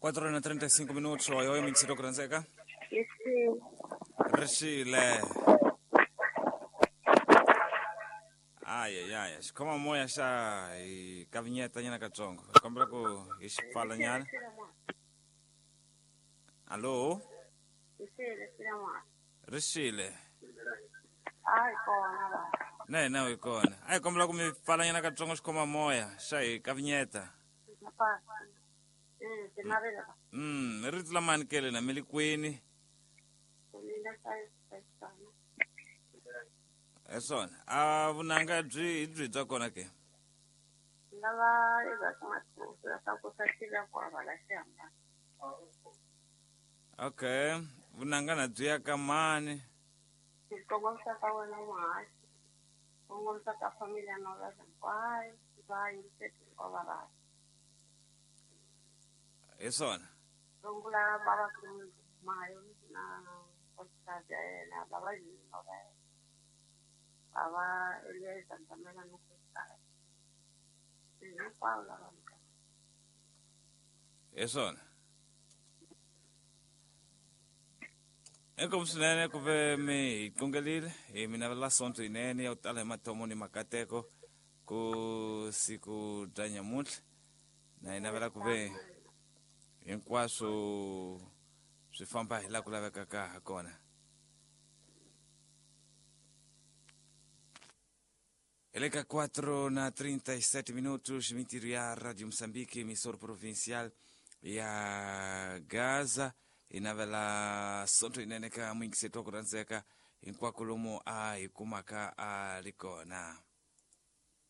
4 na 35 minutos, oi, oi, mingisito ku rhandzeka. Rixile. Rixile. Ayayaya, xikhoma moya xa hi kavinyeta nyana katsongo. Hi kombela ku hi xi pfala nyana. Allo? Rixile, Xinamana. Rixile. A hi kona la. Na hina hi kona. A hi kombela ku mi pfala nyana katsongo xikhoma moya xa hi kavinyeta. Tinavela. Rito lamani kele na mi le kwini? Mina hlayisana. Hi swona. A vunanga byi hi byi bya kona ke? Lava eka masiku leswaku swa tiva ku avala xihambano. Okay. Vunanga na byi ya ka mani? Ndzi kongomisa ka wena muhaxi. Kongomisa ka familia na hinkwayo va yingiseti hinkwavo va. Hi swona. Rungula bava mayo na nkosikazi ya yena bava yini va yena. Bava Eliezer Ntamela na nkosikazi. Hinkwavo lava. Hi swona. Inkomu swinene ku ve mi hi qungelile hi mi navela sonto yinene ya ku tala hi mathomo ni makateko ku siku bya nyamuntlha na hi navela ku ve hinkwaswo swi famba hi laha ku lavekaka ha kona. Hi le ka 4 na 37 minutos, mintirho ya Radio Moçambique, emissora provincial ya Gaza. Hi navela sonto yinene ka muyingiseti wa ku rhandzeka hinkwako lomu a hi kumaka a ri kona.